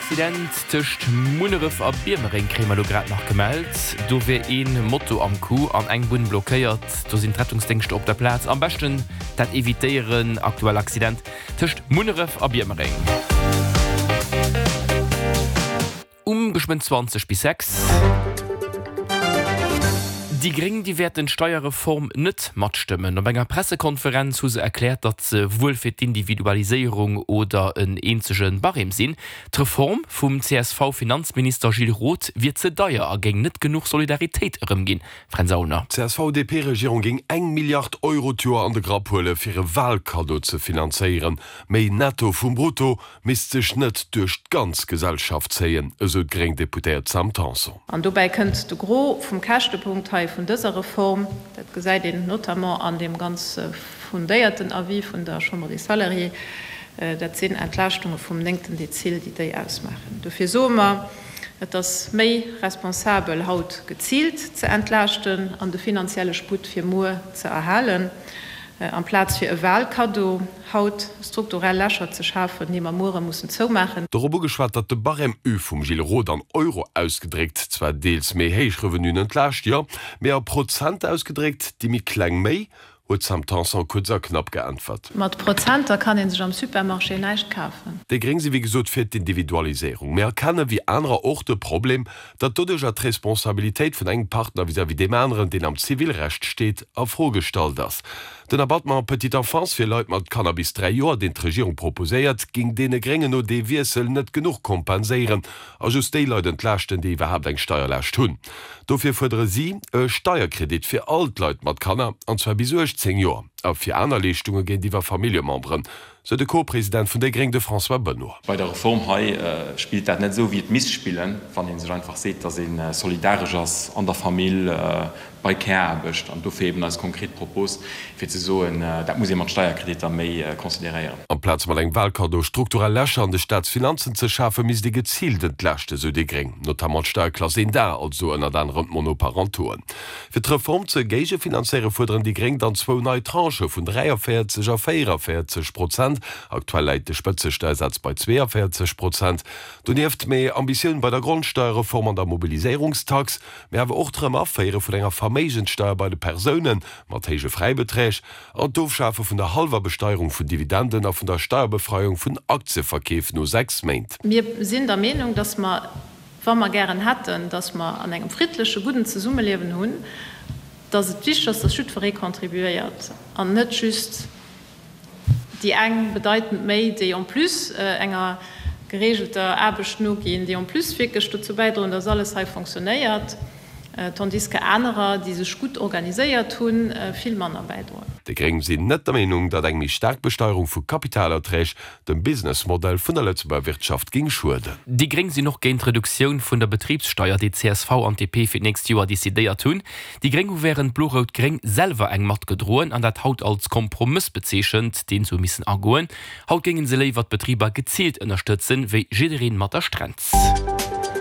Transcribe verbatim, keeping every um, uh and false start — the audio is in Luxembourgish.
Accident tëscht Munneref a Biermereng kréie mer elo grad nach gemellt. Do wier ee Moto am Coup an eng Bunn blockéiert. Do sinn d'Rettungsdéngschter op der Plaz. Am beschten dat evitéieren. Aktuell Accident tëscht Munneref a Biermereng. Um geschwënn zwanzeg bis sechs. Déi Gréng, déi wäerten d'Steierreform net matstëmmen. Op enger Pressekonferenz hu se erkläert, datt se wuel fir d'Individualiséierung oder en eenzege Barème sinn. D'Reform vum C S V-Finanzminister Gilles Roth wier ze deier a géing net genuch Solidaritéit erëmginn. Fränz Aulner. D'C S V D P-Regierung géing eng Milliard Euro d'Joer an de Grapp huele fir e Walkaddo ze finanzéieren. Méi Netto vum Brutto misst sech net duerch d'ganz Gesellschaft zéien, esou d'gréng Deputéiert Sam Tanson. An dobäi kënnt de Gros vum Käschtepunkt hei vun dëser Reform, dat gesäit een notamment an deem ganz fundéierten Avis vun der Chambre des Salariés, dat sinn Entlaaschtunge vum néngten Dezil, déi déi ausmaachen. Dofir soe mer, et ass méi responsabel haut geziilt ze entlaaschten an de finanzielle Sputt fir muer ze erhalen, amplaz fir e Wahlkaddo haut strukturell Lächer ze schafen, déi mer muere mussen zoumaachen. Dorop ugeschwat, datt de Barème U vum Gilles Roth an Euro ausgedréckt zwar deels méi héich Revenuen entlaascht, jo, mee a Prozent ausgedréckt déi méi kleng méi, huet d'Sam Tanson kuerz a knapp geäntwert. Mat Prozenter kann ee sech am Supermarché näischt kafen. Déi Gréng si wéi gesot fir d'Individualiséierung, mee erkenne wéi anerer och de Problem, datt doduercher d'Responsabilitéit vun engem Partner vis-à-vis deem aneren, deen am Zivilrecht steet, a Fro gestallt ass. Den Abattement petite enfance fir Leit mat Kanner bis dräi Joer, deen d'Regierung proposéiert, géing deene Gréngen no dee Wiessel net genuch kompenséieren a just déi Leit entlaaschten, déi iwwerhaapt eng Steierlaascht hunn. Dofir fuerdere si e Steierkredit fir all d'Leit mat Kanner, an zwar bis uechtzéng Joer, a fir aner Leeschtunge géintiwwer Familljememberen, sou de Co-President vun déi Gréng, de François Benoy. Bei der Reform hei spillt dat net esou, wéi et misst spillen, wann ee sech einfach seet, datt ee solidaresch ass an der Famill, bei Care-Aarbecht, an dofir eben eis konkret Propos, fir ze soen, dat muss ee mat Steierkreditter méi consideréieren. Amplaz mat engem Wahlkaddo strukturell Lächer an de Staatsfinanzen ze schafen, misst ee geziilt entlaaschten, sou déi Gréng, notamment d'Steierklass eent A, also ënnert anerem d'Monoparentoen. Fir d'Reform ze géigefinanzéieren, fuerderen déi Gréng dann zwou nei Tranchë vun dräiavéierzeg a véieravéierzeg Prozent, aktuell läit de Spëtzesteiersaz bei zweeavéierzeg Prozent. Donieft méi Ambitioun bei der Grondsteierreform an der Mobiliséierungstax, mee awer och d'Erëm-Aféiere vun enger Verméigenssteier bei de Persoune mat héije Fräibeträg an d'Ofschafe vun der hallwer Besteierung vun Dividenden a vun der Steierbefreiung vun Aktieverkeef no sechs Méint. Mir sinn der Meenung, dass mer, wa mer gären hätten, dass mer an engem friddleche, gudden Zesummeliewen hunn, dass et wichteg ass, dass jiddweree contribuéiert an net just déi eng bedeitend méi, déi en plus enger geregelter Aarbecht noginn, déi en plus wierklech dozou bäidroen, dass alles hei fonctionnéiert, tandis que anerer, déi sech gutt organiséiert hunn, vill manner bäidroen. Déi Gréng sinn net der Meenung, datt eng méi staark Besteierung vu Kapitalerträg dem Businessmodell vun der Lëtzebuerger Wirtschaft géing schueden. Déi Gréng sinn och géint d'Reduktioun vun der Betribssteier, déi csv an D P fir d'nächst Joer decidéiert hunn. Déi Gréng hu wärend Blo-Rout-Gréng selwer eng matgedroen an dat haut als Kompromëss bezeechent, deen se hu missen agoen. Haut géinge se léiwer d'Betriber geziilt ënnerstëtzen, wéi jiddereen mat der Strenz.